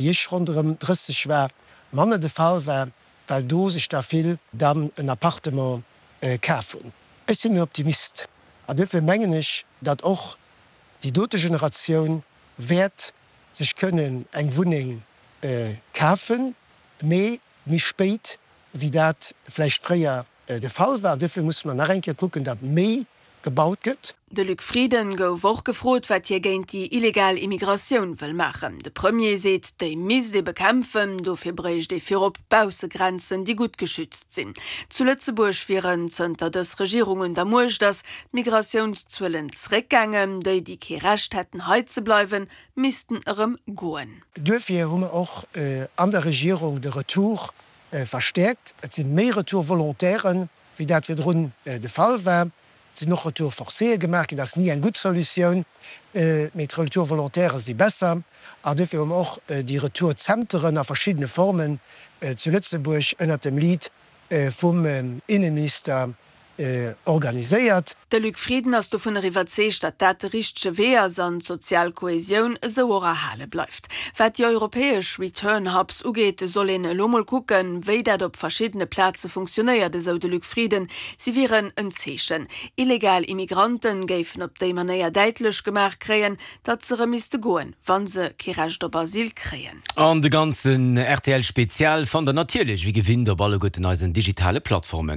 Wéi ech ronderëm 30 war, manner de Fall war, well do sech der vill dann en Appartement kaf hunn. Ech sinn en Optimist an duerfir mengen ech, datt och déi dote Generatioun wäert sech kënnen eng Wunneng kafen, mee méi spéit wéi dat vläicht fréier de Fall war. An duerfir musse mer nach eng Kéier kucken, datt méi gebaut gëtt. De Luc Frieden gouf och gefrot, wat hie géint déi illegal Immigratioun wëll maachen. De Premier seet, déi misst ee bekämpfen, dofir bréicht ee virop Baussegrenzen, déi gutt geschützt sinn. Zu Lëtzebuerg wieren, zënter dës Regierung un der Muecht ass, d'Migratiounszuelen zréckgaangen. Déi, déi kee Recht hätten hei ze bleiwen, missten erëm goen. Duerfir hu mer och an der Regierung de Retour verstäerkt. Et si méi Retour-volontairen, wéi dat virdrun de Fall war. Et sinn och Retours forcéë gemaach ginn. Dat ass ni eng gutt Solutioun, mee d'Retours volontaires si besser. An duerfir hu mer och déi Retour-Zenteren a verschiddene Formen zu Lëtzebuerg ënnert dem Lead vum Innenminister organiséiert. De Luc Frieden ass dovunner iwwerzeegt, datt dat de richtege Wee ass an d'sozial Kohesioun esou och erhale bleift. Wat déi europäesch Return Hubs ugeet, soll een elo mol kucken, wéi dat op verschiddene Plaze funktionéiert, esou de Luc Frieden. Si wieren en Zeechen. Illegal Immigrante géifen op déi Manéier däitlech gemaach kréien, datt se erëm misste goen, wa se kee Recht op Asyl kréien. An de ganzen rtl Spezial fannt der natierlech wéi gewinnt op alleguerten eisen digitale Plattformen.